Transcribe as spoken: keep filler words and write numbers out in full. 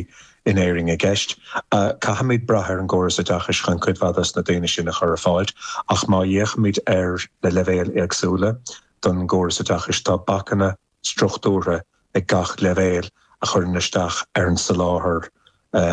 poiblí in Éirinn i gceist. Uh, Caithfimid brath ar an gcóras oideachais chun cuid mhaith de na daoine sin a chur ar fáil, ach má fhéachaimid ar na leibhéil éagsúla den gcóras oideachais tá bacanna struchtúrtha ag gach leibhéal a chuireann isteach ar an soláthar